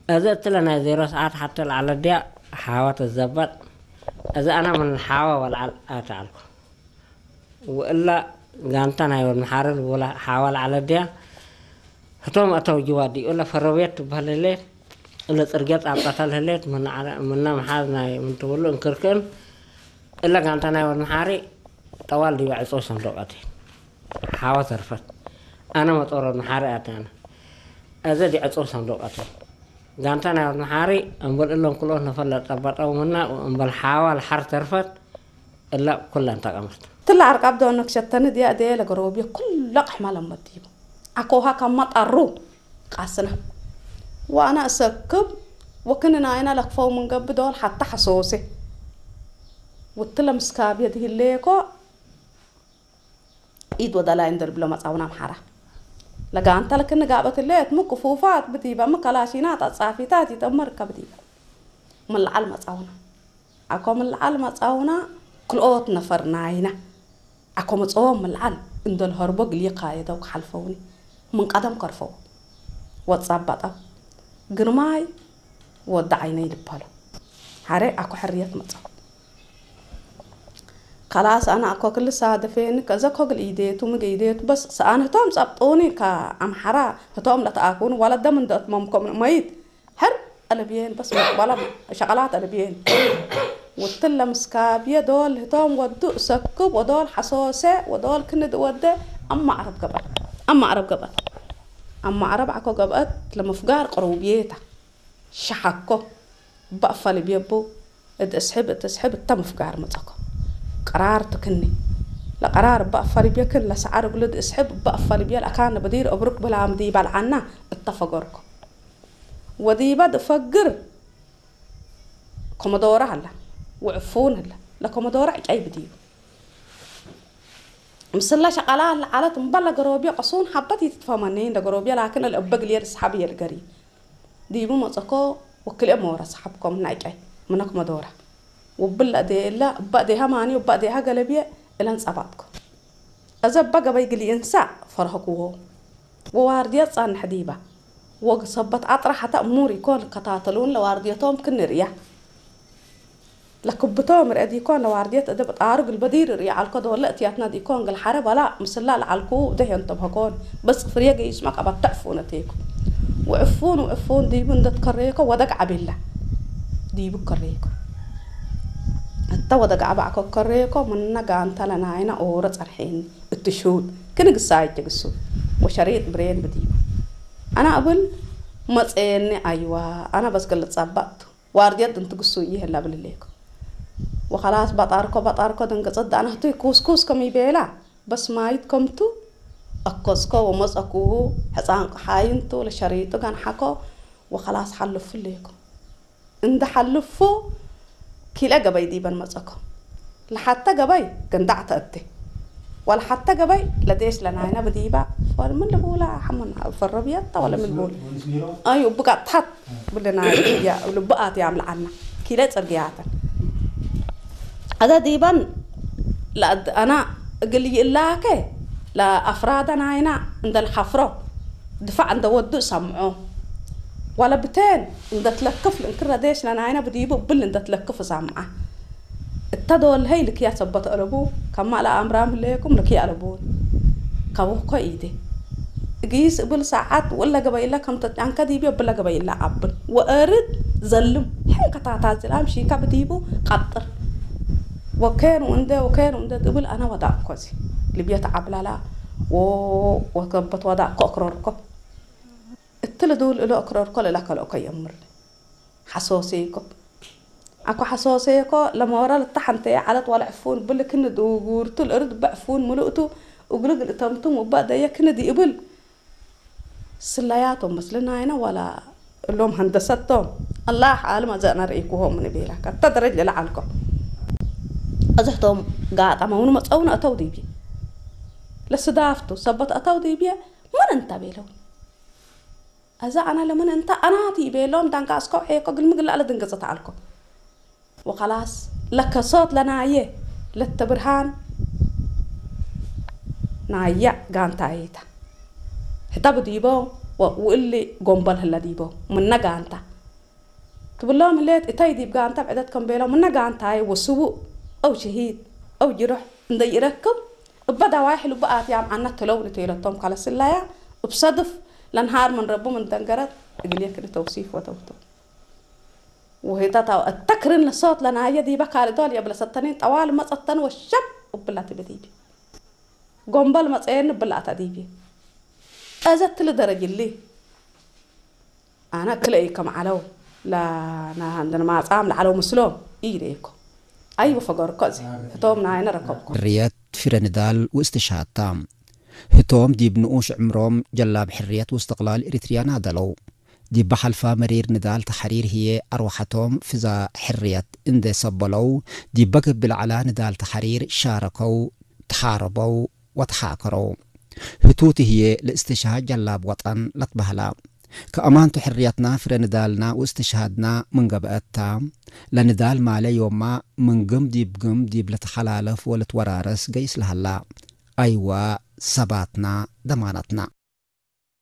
እዚ እትለ ናይ ዜሮ ሰዓት ሓተ ለዓለ ድያ ሓዋ ተዘበጥ። እዚ ኣና ምን ሓዋ ወልዓል ኣተዓልኩ። ወእላ ጋንታ ናይ ወድ መሓረ ዝቦላ ሓዋ ለዓለ ድያ። ህቶም ኣተው ጅዋ ድዩ እለ ፈረቤት ትበሃል ህሌት። እለ ጽርገት ኣባታል ህሌት ምና ምሓዝ ናይ ምንትብሉ እንክርክን። እለ ጋንታ ናይ ወድ መሓሪ ጠዋል ድዩ ዕጾ ሰንዶቀት። ሓዋ ተርፈት። ኣነ መጦሮ መሓሪ ኣታና። እዚ ድዩ ዕጾ ሰንዶቀት። ጋንታ ናይ ወድ መሓሪ እምበል እሎም ክልኦት ነፈለ ጠባጠው ምና እምበል ሓዋ ለሓር ተርፈት። እላ ኩላ እንታ ቀመት። ትላ ዓርቃብ ዶ ነክሸተኒ ድያ ደየ ለገሮብየ ኩላ ቅሕማ ለመዲቡ። ኣኮሃ ካብ መጣሩ ቃስና። ዋና እሰክብ ወክንና ኣይና ለክፈው ምንገብ ዶል ሓታ ሓሶሴ። ውትለ ምስካብ የድህሌኮ ኢድ ወደላይ እንደርብሎ መጻውና ኣምሓራ። ለጋንታ ለክን ጋበት ሌት ምክፉፋት ብዲባ መከላሺናት ኣጻፊታት ይጠመር ከብዲባ። ምልዓል መጻውና። ኣኮ ምልዓል መጻውና ክልኦት ነፈር ናይና። ኣኮ መጸዎም ምልዓል እንደልሀርቦ ግልየ ካየደው ክሓልፈውኒ። ምን ቀደም ከርፈው። ወጻ ኣባጣው። ግርማይ ወዲ ዓይነይ ልባሎ። ሓረ ኣኮ ሕርየት መጸው። ከላስ ኣነ ኣኮ ክልሳ ደፌኒ ከዘ ኮግል ኢዴቱ ምግ ኢዴቱ በስ ሰኣን ህቶም ጸብጡኒ ከኣምሓራ ህቶም ለተኣኩኑ ወለደም እንደእትመምኮም መይት ሕር ኣለብየን በስ ዋላ ሸቐላት ኣለብየን። ውትለ ምስካብየ ዶል ህቶም ወዱ እሰክብ ወዶል ሓሶሰ ወዶል ክንድ ወደ ኣማ ዓረብ ገበአት ኣማ ዓረብ ገበአት ኣማ ዓረብ ዓኮ ገበአት ለምፍጋር ቅሩብየታ ሸሓኮ ባእፋ ልብየቡ እድ እስሕብ እድ እስሕብ እታ ምፍጋር መጸኮ። ቀራር ትክኒ ለቀራር ባእፋ ልብየክን ለሰዓር እግሉ እድ እስሕብ ባእፋ ልብየ ለኣካነ በዲር እብሩክ ብላም ዲባልዓና እታ ፈገርኮ። ወዲባ ድፈግር ኮመዶራ ሀላ ውዕፉን ህላ ለኮመዶራ ዕጫይ ብድዩ ምስላ ሸቃላ ለዓለት እምበል ለገሮብዮ ቀሱን ሀበት ይትትፈመኒ እንደ ገሮብዮ ላክን እልእበ ግልየ ድስሓብ እየ ልገሪ ዲቡ መጸኮ ወክልኤ መወረ ሰሓብኮም ናይ ዕጫይ ምነ ኮመዶራ ውብል ለእደየላ እባ እዴሃ ማኒ እባ እዴሃ ገለብየ እለን ጸባጥኮ። እዘ እባ ገበይ ግሊ እንሳ ፈርሀክዎ። ወዋርድየት ጻንሕ ዲባ። ወግ ሰበት ኣጥራ ሓታ እሙር ኢኮ ልከታተሉን ለዋርድየቶም ክንርእያ። ለክብቶም ርአ ዲኮን ለዋርድየት እደ ብጣሩ ግልበዲር ርእያ ኣልኮ ደወለ እትያትና ዲኮን ግልሓረ በላ ምስላ ለዓልኩ ደህ የንተብሀኮን በስ ፍርየ ገይስማ ቀበተዕፉ ነቴኩ። ውዕፉን ውዕፉን ዲቡ እንደትከረየኮ ወደግ ዓቤላ ዲቡ ከረየኮ። እታ ወደግ ዓባዕኮ ከረየኮ ምነ ጋንታ ለናይና ኦረ ጸርሐኒ። እትሹት ክንግሳ ይትግሱ ወሸሪጥ ብሬን ብዲቡ ኣና እብል መጸየኒ ኣይዋ ኣና በስገለ ጸባጥቱ ዋርድየት እንትግሱ ይህላ ብልሌኩ ወኸላስ ባጣርኮ ባጣርኮ ደንገጸት ዳናህቱ ኩስኩስ ከም ይቤላ በስማይት ከምቱ ኣኮስኮ ወመጸኩሁ ሕፃን ቆሓይንቱ ለሸሪጡ ጋንሓኮ ወኸላስ ሓልፉ ሌኩ እንደ ሓልፉ ኪለ ገበይ ዲበን መጸኮ ለሓተ ገበይ ገንዳዕ ተእቴ ወለሓተ ገበይ ለዴሽ ለናይና ብዲባ ወልምን ልቡላ ሓሙና ፈረብየታ ወለምን ልቡላ ኣዩ ብቃ ታሓት ብልና ያ ልብኣት ያም ለዓና ኪለ ጽርግያተን ኣዛ ዲባን ለኣድ ኣና እግል ይእላከ ለኣፍራዳ ናይና እንደልሓፍሮ ድፋዕ እንደወዱ እሰምዖ ዋለ ብቴን እንደትለክፍ ልእንክረዴሽ ለናይና ብዲቡ እብል እንደትለክፍ እሰምዓ እታ ደወልሀይ ልክያ ሰበት ኣለቡ ካብ ማእላ ኣምራም ህለየኩም ልክያ ኣለቡን ካብ ወኮ ኢዴ እግይስ እብል ሰዓት ወላ ገበይላ ከም ተጫንከ ዲብዮ ብላ ገበይላ ኣብን ወእርድ ዘልም ሕን ከታታ ዝላም ሺካ ብዲቡ ቀጥር ወከኑ እንደ ወከኑ እንደ ትብል ኣና ወዳእኮ እዚ ልብዮ ተዓብላላ ወከበት ወዳእኮ እክረርኮ እትል ድውል እሎ እክረርኮ ልላ ከልኦኮ የምር ሓሶሴኮ ኣኮ ሓሶሴኮ ለመወራ ልተሓንተ ዓለት ዋላ ዕፉን ብል ክን ድውጉርቱ ልእርድ በዕፉን ምሉእቱ እግልግል እተምቱም ውባእ ደየ ክን ዲእብል ስለያቶም መስልና ኣይና ዋላ እሎም ሀንደሰቶም ኣላህ ዓለም ኣዘእና ርኢኩሆም ንቤላ ካብታ ደረጅ ልለዓልኮ እዝሕቶም ጋጣመውን መፀውን ኣተው ዲቢ ለስዳፍቱ ሰበት ኣተው ዲብየ ምን እንታ ቤለው እዛ ኣና ለምን እንታ ኣናቲ ቤሎም ዳንካ እስኮ ዔኮ ግልሚ ግላለ ድንገፀ ተዓልኮ ወኸላስ ለከሶት ለናየ ለተብርሃን ናያ ጋንታ ኣይታ ሕታ ብዲቦ ውእሊ ጎንበል ህለ ዲቦ ምነ ጋንታ ትብሎም ህሌት እታይ ዲብ ጋንታ ብዕደት ከም ቤሎም እና ጋንታይ ወስቡ ኣው ሽሂድ ኣው ጅሩሕ እንደይረክብ እበ ዳዋይ ሕልቡ ኣትያም ኣና ትለው ንተይለቶም ካለስላያ እብ ሰድፍ ለንሃር ምን ረቡ ምን ደንገረት እግልየ ክን ተውሲፍ ወተውቶ ወሄታት ኣው እተክርን ለሶት ለናየ ዲበ ካልዶል የብለ ሰተኒን ጠዋል መጸተን ወሸብ እብላ ትብት ይቢ ጎንበል መጸየን ብላ ኣታ ዲቢ እዘት ትል ደረጅሊ ኣነ ክልኤ ከም ዓለው ለናሃንደን ማጻም ለዓለው ምስሎም ኢደይኮ ኣይወፈገርኮ እዚ እቶም ናይነ ረከብኮ ሕርየት ፊረ ንዳል ውእስትሽሃድታ ህቶም ዲብ ንኡሽ ዕምሮም ጀላብ ሕርየት ውስትቕላል ኤሪትርያ ናደለው። ዲብ ብሓልፋ መሪር ንዳል ተሓሪር ህዬ ኣርዋሓቶም ፍዛ ሕርየት እንዴ ሰበለው፣ ዲበ ግብ ለዐላ ንዳል ተሓሪር ሻረከው፣ ተሓረበው ወተሓከረው። ህቱቲ ህዬ ለእስትሽሃድ ጀላብ ወጠን ለትበህላ። ከአማንቱ ሕርየትና ፍረ ንዳልና ወእስትሽሃድና ምን ገብአት ታ፣ ለንዳል ማለ ዮማ ምን ግም ዲብ ግም ዲብ ለተሓላለፍ ወልትወራረስ ገይስ ለሀላ። አይዋ ሰባትና ደማነትና።